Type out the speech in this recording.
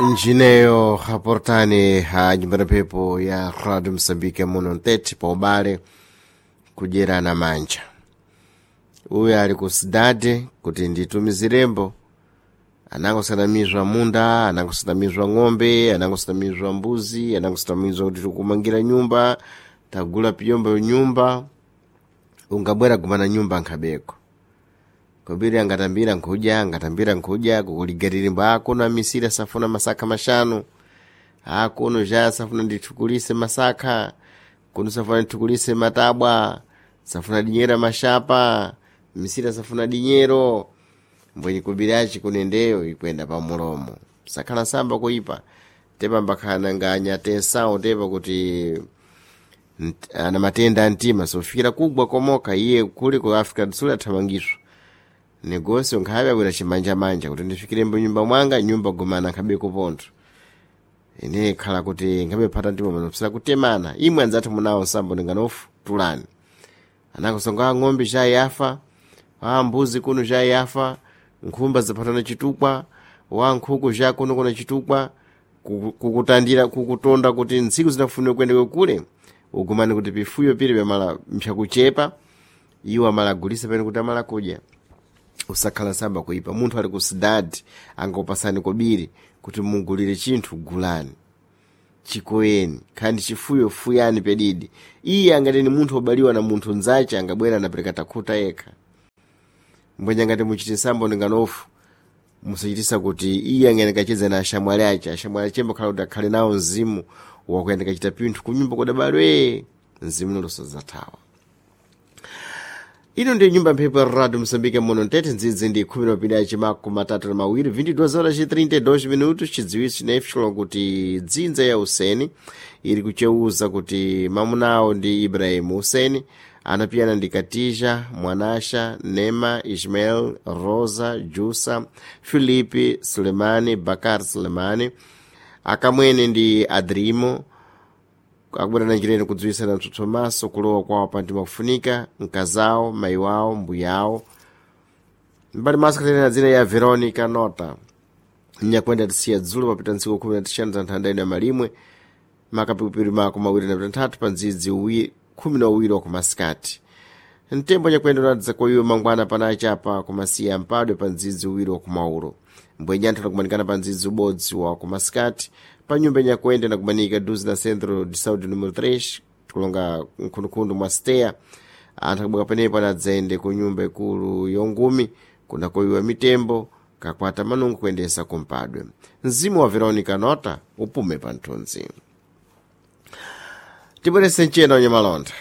Njineyo raportani ha nyumba ya mphepo ya Radio Msambike muno mtete pa ubale kudyerana manja. Uyu ali ku sidade kuti nditumizirembo anangosanamizwa munda, anangosanamizwa ng'ombe, anangosanamizwa mbuzi, anangosanamizwa kuti tikumangira nyumba, tagula piyombo nyumba, ungabwera kumana nyumba nkhabeko. Kobiri angatambira nkhuja, angatambira nkhuja, kukuligaririmbo akuno amisiri asafuna masakha mashanu, akuno ja asafuna ndithukulise masakha, kuno safuna ndithukulise matabwa, safuna dinyera mashapa, misiri asafuna dinyero, mbwenye kubiri aci kunendeyo ikwenda pamulomo. Sakhala samba kuipa, tepa mbakhala nganya tensawo tepa kuti ana matenda a mtima sofikira kugwa komoka iye kuli ku Africa do Sul athamangiswa. Negócio nkhabe abwera chimanjamanja kuti ndifikirembo nyumba mwanga nyumba gumana nkhabe kupontho ine khala kuti nkhabe phata mtima pano psira kutemana imwe anzathu munawo nsambo ndinganofu tulani anakusonga a ng'ombe jayafa a mbuzi kuno jayafa nkhumba zaphatana chitukwa wa nkhuku ja kuno kuna chitukwa kukutandira kukutonda kuti ntsiku zinafunika kuyendeka kule ugumane kuti pifuyo pili pyamala mpyakuchepa iwo amalagulisa pene kuti amala kudya usakhala samba kuipa munthu ali ku sidadi angopasani kobiri kuti mugulire chinthu gulani chikoyeni khandi chifuyo fuyani pedidi iye angati ni munthu obaliwa na munthu nzace angabwera anapereka takhuta yekha mbwenye ngati muchite sambo ndinganofu musachitisa kuti iye angayendekacheza na ashamwali ace ashamwali achembo khala kuti akhale nawo mzimu wakuyendekachita pinthu kunyumba kudabalwe mzimu nolosazathawa. Ino ndiyo nyumba mphepo ya Radio Msambike muno mtete ndzidzi ndi 12:32 22 horas e 32 minutos. Chidziwitso chinefu kuti dzinza ya Useni iri kucheuza kuti mamunawo ndi Ibrahim Useni anapiyana ndi Katija, Mwanasha, Nema, Ismael, Rosa, Jusa, Filipe, Sulemani, Bakar Sulemani, akamwene ndi Adrimo akubwera njireni kudziwisana mtsutsomaso kulowa kwawo pantima kufunika mkazawo mayi wawo mbuyawo mbali maso katenera dzina ya Veronica Nota nyakwenda tisiya dzulo papita ntsiku 15 za nthanda ino ya malimwe makapikupiri mako 23 pa ndzidzi 12 wa kumasikati mtembo nyakwenda unadza koyiwe mangwana panachi apa kumasiya mpadwe pa ndzidzi uwiri wa kumauro mbwenye anthu anakumanikana pa ndzidzi ubodzi wa kumasikati pa nyumba nyakwenda inakumanika duzi na Centro de Saúde número 3 kulonga nkhundukhundu mwa steya anthu akubwera penepo anadzayende ku nyumba ikulu yongumi kunakoyiwa mitembo kakwata manungu kuyendesa kumpadwe mzimu wa Veronica Nota upume pa nthunzi. Tibwerese mchena wenye malonda.